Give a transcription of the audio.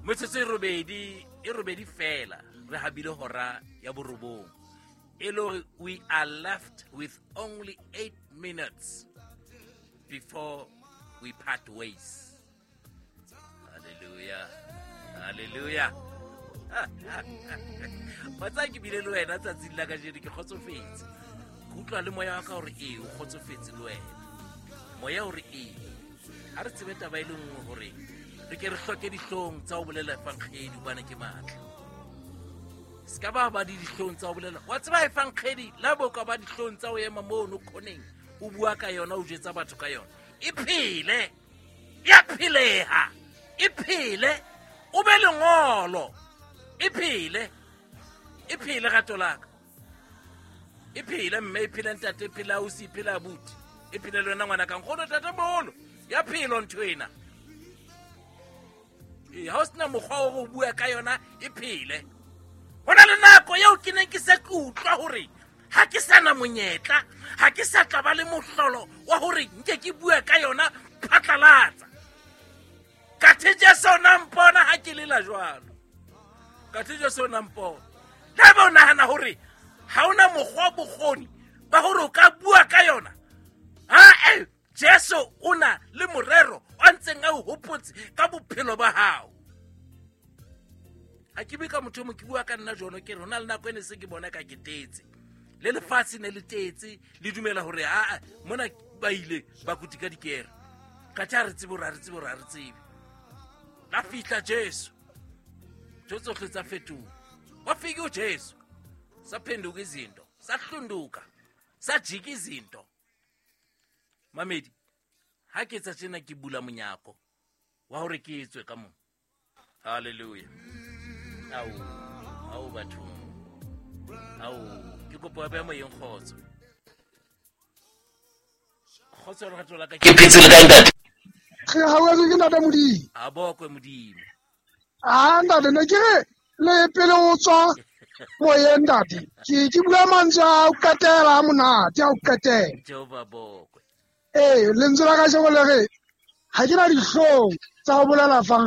Metsotso e robedi, e robedi fela re habile hora ya borobong. E le hore we are left with only 8 minutes before we part ways. Hallelujah, hallelujah. Wa tsaya ke bile le wena tsatsing la kajeno, ke kgotsofetse. Ke utlwa le moya wa ka hore ee, o kgotsofetse le wena. Moya hore ee, ha re tsebe taba e le nngwe hore re ke re hloke dihlong tsa ho bolela efankgedi hobane ke matla. Se ka ba ba di dihlong tsa ho bolela. Wa tseba efankgedi la bo ka ba dihlong tsa ho ema mono khoneng o bua ka yona, o jwetsa batho ka yona. E phele, ya pheleha, e phele, o be lengolo, e phele, e phele rato la ka. E phele mme, e phele ntate, e phele ausi, e phele abuti, e phele le wena ngwana ka nkgono, tate moholo. Ya phelo ntho ena. Ee, ha o sena mokgwa wa ho bua ka yona, e phele. Ho na le nako eo ke neng ke se ke utlwa hore ha ke sa na monyetla, ha ke sa tla ba le mohlolo wa hore nke ke bue ka yona phatlalatsa. Kathe Jesu o na mpona ha ke lela jwalo. Kathe Jesu o na mpona. Le haeba o nahana hore ha ona mokgwa bokgoni ba hore o ka bua ka yona, ha Jesu o na le morero o ntseng a o hopotse ka bophelo ba hao. Ha ke bue ka motho o mong, ke bua ka nna jono, ke re ho na le nako e ne se ke bona ka ke tetse. Le lefatshe ne le tetse, le dumela hore aa mona ba ile ba kuti ka dikere. Kathe ha re tsebe hore ha re tsebe hore ha re tsebe. La fihla Jesu. Ntho tsohle tsa fetoha. Wa fika uJesu. Saphenduka izinto, sahlunduka, sajika izinto. Mamedi, ha ke etsa tjena ke bula monyako wa hore ke etswe ka mona. Hallelujah. Au, au bathong. Au, ke kopo ya moyeng kgotso. Kgotso lerato la ka ke phetse le kae ntate? Re hauhetswe ke ntate Modimo. A bokwe Modimo. Ah, ntate, ne ke re le pele o tswa moyeng ntate. Ke bua mantswe a o qetela a monate, a o qetela. Jehova bokwe. Ee, lentswe la kajeno le re ha ke na dihlong tsa ho bolela